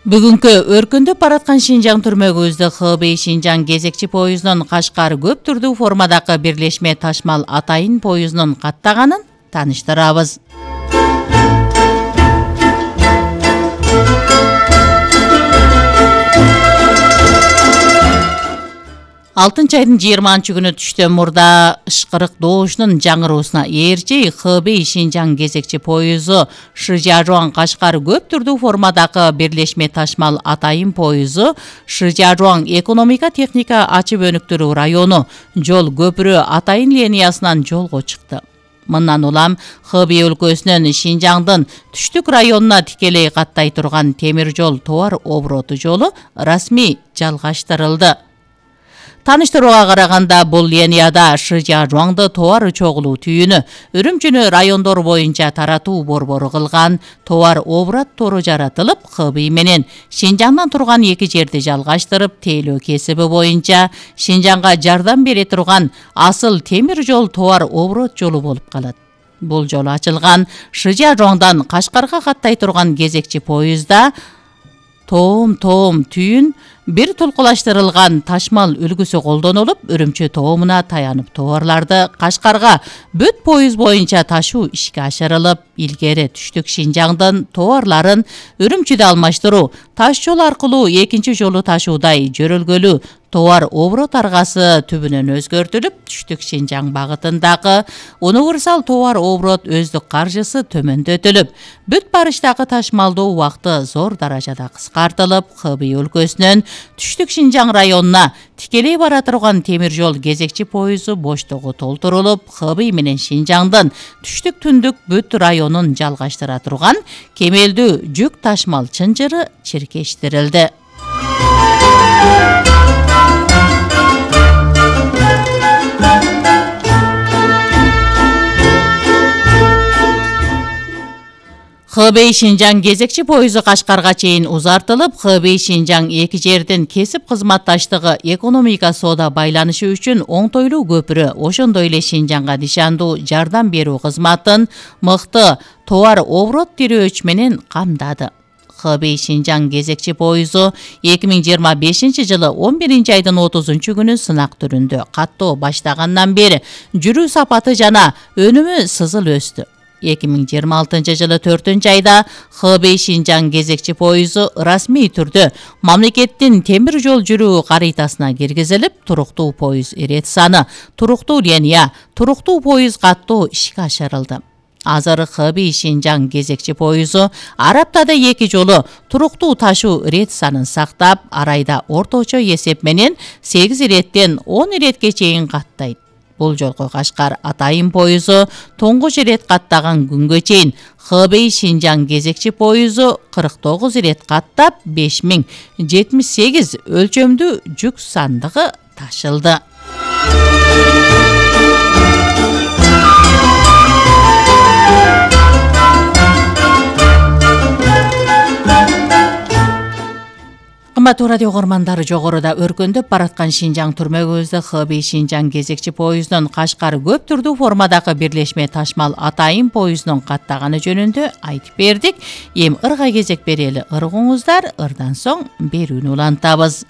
Бүгүнкү өркүндөп бараткан Шинжаң түрмөгүбүздө Хэбэй Шинжаң кезекчи поездунун Кашкар көп түрдүү формадагы бирлешме Ташмал Атайын поездунун каттаганын тааныштырабыз. 6-айдын 20-күнү түштөн мурда ышкырык доошунун жаңыруусуна ээрчи Хэбэй Шинжаң кезекчи поезу Шижажуан Кашкар көп түрдүү формадагы бирлешме Ташмал Атайын поезу Шижажуан экономика техника ачып өнүктүрүү району жол көпүрө Атайын линиясынан жолго чыкты. Мындан улам Хэбэй өлкөсүнүн Шинжаңдын түштүк районуна тикелей каттай турган темир жол товар обороту жолу расмий жалгаштырылды. Таныштырууга караганда бул линияда Шижажуаңды товар чогулуу түйүнү, Үрүмчүнү райондор боюнча таратуу борбору кылган товар оборот тору жаратылып, Хэбэй менен Шинжаңдан турган эки жерди жалгаштырып, тейлөө кесиби боюнча Шинжаңга жардам бере турган асыл темир жол товар оборот жолу болуп калат. Бул жол ачылган Шижажуаңдан Кашкарга каттай турган кезекчи поездда тоом түйүн бир тулкулаштырылган ташмал үлгүсү колдонулуп, Үрүмчү тоомуна таянып товарларды Кашкарга бүт поезд боюнча ташуу ишке ашырылып, илгери түштүк Шинжаңдын товарларын Үрүмчүдө алмаштыруу, таш жол аркылуу экинчи жолу ташуудай жөрөлгөлүү товар оборот аргасы түбүнөн өзгөртүлүп, түштүк Шинжаң багытындагы универсал товар оборот өздүк каржысы төмөндөтүлүп, бүт барыштагы ташмалдоо убакыты зор даражада кыскартылып, Хэбэй өлкөсүнүн түштүк Шинжаң районуна тикелей бара турган темир жол кезекчи поезу боштугу толтурулуп, Хэбэй менен Шинжаңдын түштүк түндүк бүт районун жалгаштыра турган кемелдүү жүк ташмал чынжыры чиркештирилди. Хэбэй Шинжаң кезекчи поезу Кашкарга чейин узартылып, Хэбэй Шинжаң эки жердин кесип кызматташтыгы, экономика соода байланышы үчүн оңтойлуу көпүрө, ошондой эле Шинжаңга нишандуу жардам берүү кызматын мыкты товар оборот тирөөч менен камдады. Хэбэй Шинжаң кезекчи поезу 2025 жылы 11-айдын 30-күнү сынак түрүндө каттоо баштагандан бери жүрүү сапаты жана өнүмү сызыл өстү. 2026 жылы 4-айда Хэбэй Шинжаң кезекчи поезу расмий түрдө мамлекеттин темир жол жүрүү карыйтасына киргизилип, туруктуу поезд ирет саны, туруктуу линия, туруктуу поезд каттоо ишке ашырылды. Азыр Хэбэй Шинжаң кезекчи поезу ар аптада 2 жолу туруктуу ташуу ирет санын сактап, ар айда орточо эсеп менен 8 иреттен 10 иретке чейин каттайт. Бул жолку Кашкар Атайын поезу тоңгуч ирет каттаган күнгө чейин Хэбэй Шинжаң кезекчи поезу 49 ирет каттап 5078 өлчөмдүү жүк сандыгы ташылды. Кымбаттуу радио угармандары, жогоруда өркүндөп бараткан Шинжаң түрмөгүбүздө Хэбэй Шинжаң кезекчи поездунун Кашкар көп түрдүү формадагы бирлешме Ташмал Атайын поездунун каттаганы жөнүндө айтып бердик. Эми ырга кезек берели ыргыңыздар, ырдан соң берүүнү улантабыз.